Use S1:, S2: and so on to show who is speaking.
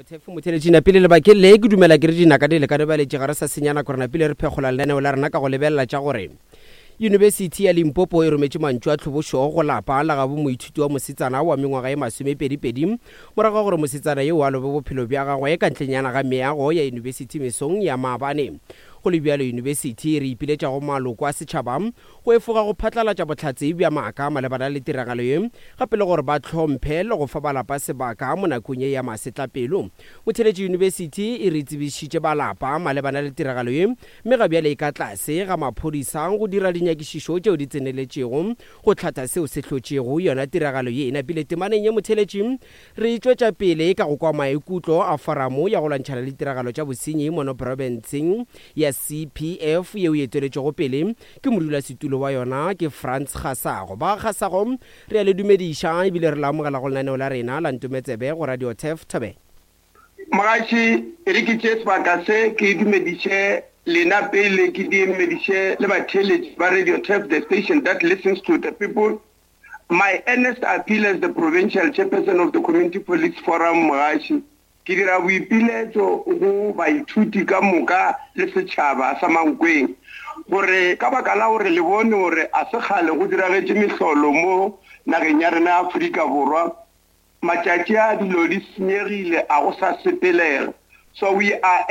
S1: Turf Motheletši napile lebakeng le ke dumela ke re dinaka di lekane baletši ga re sa senya nako re napile re phekgola lenaneo la rena ka go lebelela tša gore Yunibesithi ya Limpopo e rometše mantšu a tlhobošo go lapa la gabo moithuti wa mosetsana wa mengwaga e masomepedipedi morago ga gore mosetsana yeo a lobe bophelo bja gagwe ka ntlenyana ga meago ya yunibesithi mesong ya maabane. Go le bjalo yunibesithi e re ipiletša go maloko a setšhaba go efoga go phatlalatša bohlatse bja maaka malebana le tiragalo ye, gape le gore ba hlomphe le go fa ba lapa sebaka mo nakong ye ya masetlapelo. Motheeletši Yunibesithi e re tsebišitše ba lapa malebana le tiragalo ye mme ga bjale e ka tlase ga maphodisa go dira dinyakišišo tšeo di tseneletšego go hlatha seo se hlotšego yona tiragalo ye. E napile temaneng ye Motheeletši Re tšwetša pele ka go kwa maikutlo a Foramo ya go lwantšhana le ditiragalo tša bosenyi mono profenseng ya CPF yeo e eteletšwego pele ke modulasetulo wa yona ke Frans Kgasago. Ba Kgasago, re a le dumediša ebile re le amogela go lenaneo la rena la Ntometsebe go Radio Turf Thobela.
S2: Mogatši, e re ke tšee sebaka se ke dumediše lena pele ke diemediše le batheeletši ba Radio Turf, the station that listens to the people. My earnest appeal as the provincial chairperson of the Community Police Forum Mogaši, ke dira boipiletšo go baithuti ka moka le setšhaba sa Mankweng gore ka baka la gore le bone gore a se kgale go diragetše mehlolo mo nageng ya rena ya Afrika Borwa, matšatši a dilo di senyegile a go sa sepelega. So we are.